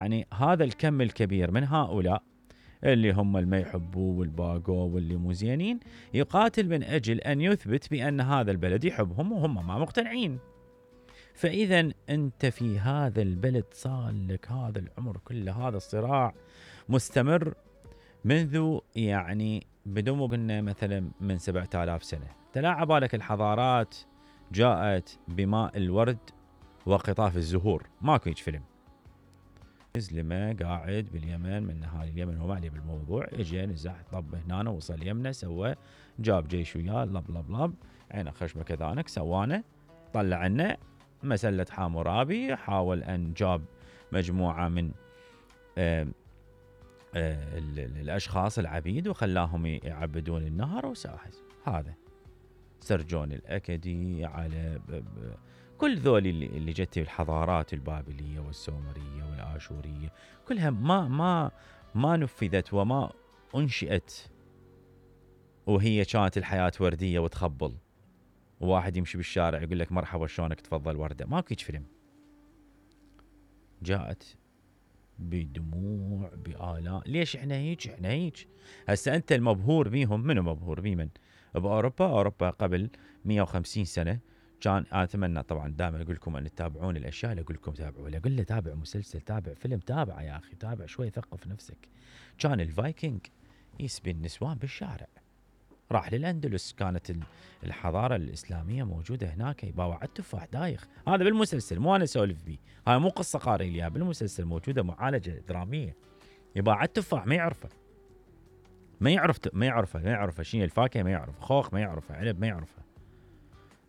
يعني هذا الكم الكبير من هؤلاء اللي هم اللي ما يحبوه والباقو واللي مو زينين يقاتل من أجل أن يثبت بأن هذا البلد يحبهم وهم ما مقتنعين. فإذا أنت في هذا البلد صار لك هذا العمر كله، هذا الصراع مستمر منذ يعني بدون ما قلنا مثلا من 7000 سنة. تلاعب بالك الحضارات جاءت بماء الورد وقطاف الزهور، ماكو هيج فيلم. لما قاعد باليمن من نهار اليمن هو معلي بالموضوع، اجى نزح طب هنا وصل يمنا سوى جاب جيش وياه لب لب لب عينه خشمه كذانك سوانا طلع عنا مسلة حامورابي، حاول ان جاب مجموعة من الاشخاص العبيد وخلاهم يعبدون النهر وساحز. هذا سرجون الاكدي على كل ذول اللي جت الحضارات البابليه والسومريه والاشوريه كلها ما نفذت وما انشئت وهي كانت الحياه ورديه وتخبل وواحد يمشي بالشارع يقول لك مرحبا شلونك تفضل ورده. ماكو هيك فيلم. جاءت بدموع بآلاء. ليش احنا هيك؟ هسه انت المبهور بيهم، منو مبهور بيمن؟ باوروبا قبل 150 سنه كان اتمنى طبعا دائما اقول لكم ان تتابعون الاشياء اللي اقول لكم تابعوا، ولا اقول له تابع مسلسل، تابع فيلم، تابع يا اخي، تابع شوي ثقف نفسك. كان الفايكنج يسبي النسوان بالشارع، راح للاندلس، كانت الحضاره الاسلاميه موجوده هناك، يباوع على التفاح دايخ. هذا بالمسلسل مو انا اسولف بيه، هاي مو قصه قاري لي بالمسلسل موجوده معالجه دراميه. يباوع على التفاح ما يعرفه شنو الفاكهه، ما يعرف خوخ، ما يعرفه عنب، ما يعرفه.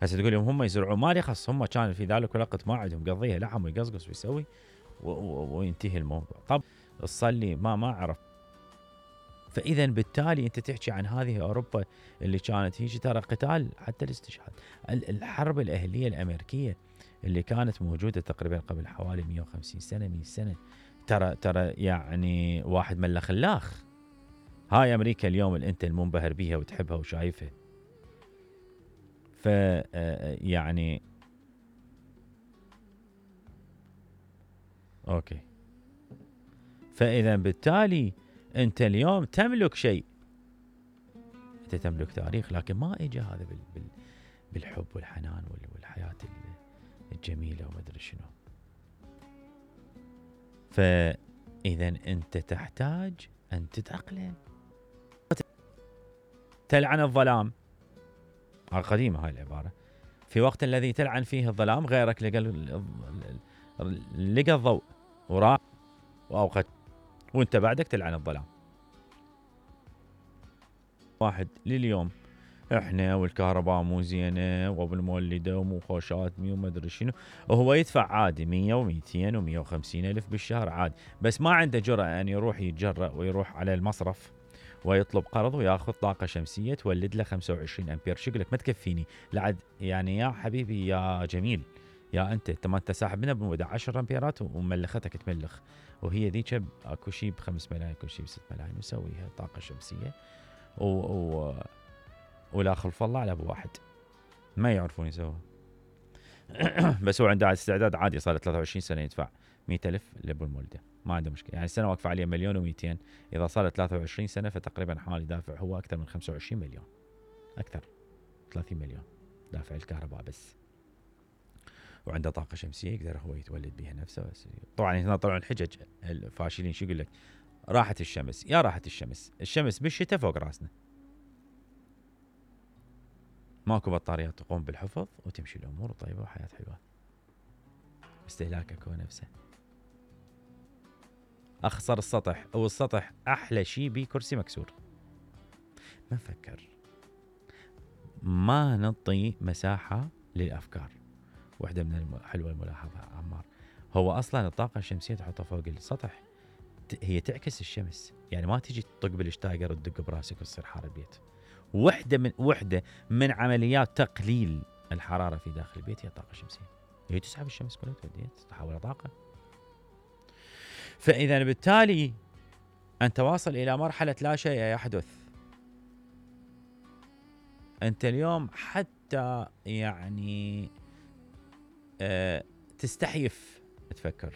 هسه تقول لهم هم يزرعون، ما لي خص، هم كان في ذلك الوقت ما عندهم قضيه لحم ويقصقص ويسوي وينتهي الموضوع. طب تصلي ما اعرف. فاذا بالتالي انت تحكي عن هذه اوروبا اللي كانت هيك، ترى قتال حتى الاستشهاد. الحرب الاهليه الامريكيه اللي كانت موجوده تقريبا قبل حوالي 150 سنه 100 سنه، ترى يعني واحد ملا خلاخ. هاي امريكا اليوم اللي انت المنبهر بيها وتحبها وشايفها. ف يعني اوكي. فاذا بالتالي انت اليوم تملك شيء، انت تملك تاريخ، لكن ما اجى هذا بالحب والحنان والحياه الجميله وما ادري شنو. فاذا انت تحتاج ان تتاقلم. تلعن الظلام، قديمه هاي العباره، في وقت الذي تلعن فيه الظلام غيرك لقى الضوء وراح واوقات وانت بعدك تلعن الظلام. واحد لليوم احنا والكهرباء مو زينه وبالمولده ومو خوشاتني وما ادري شنو، وهو يدفع عادي 100 و200 و150 الف بالشهر عادي، بس ما عنده جرأة ان يروح يتجرأ ويروح على المصرف ويطلب قرض وياخذ طاقه شمسيه تولد له 25 امبير. شو يقول لك ما تكفيني لعد يعني يا حبيبي يا جميل، يا انت ما انت ساحب منها بمده 10 امبيرات وملختك تملخ، وهي ذيك اكو شيء ب5 ملايين اكو شيء ب6 ملايين وسويها طاقه شمسيه ولا خلف الله على ابو واحد ما يعرفون يسووها. بس هو عنده استعداد عادي، صار 23 سنه يدفع 100,000 لابو المولده، ما عنده مشكله. يعني السنه واقفه عليه 1,200,000، اذا صار 23 سنه فتقريبا حوالي دافع هو اكثر من 25 مليون، اكثر 30 مليون دافع الكهرباء بس، وعنده طاقه شمسيه يقدر هو يتولد بها نفسه. بس طبعا هنا طلعوا الحجج الفاشلين، شو يقول لك؟ راحت الشمس. يا راحت الشمس بالشتاء فوق راسنا، ماكو بطاريات تقوم بالحفظ وتمشي الامور طيبه وحياه حلوه. استهلاكك هو نفسه. اخسر السطح، والسطح احلى شيء بيه كرسي مكسور. ما نفكر، ما نعطي مساحه للافكار. واحده من حلوه الملاحظه عمار، هو اصلا الطاقه الشمسيه تحطها فوق السطح هي تعكس الشمس، يعني ما تجي تطق بالشتايجر وتدق براسك وتصير حار البيت. وحده من عمليات تقليل الحراره في داخل البيت هي الطاقه الشمسيه، هي تسحب الشمس كلها توديها تحولها طاقه. فاذا بالتالي انت واصل الى مرحله لا شيء يحدث. انت اليوم حتى يعني تستحيف تفكر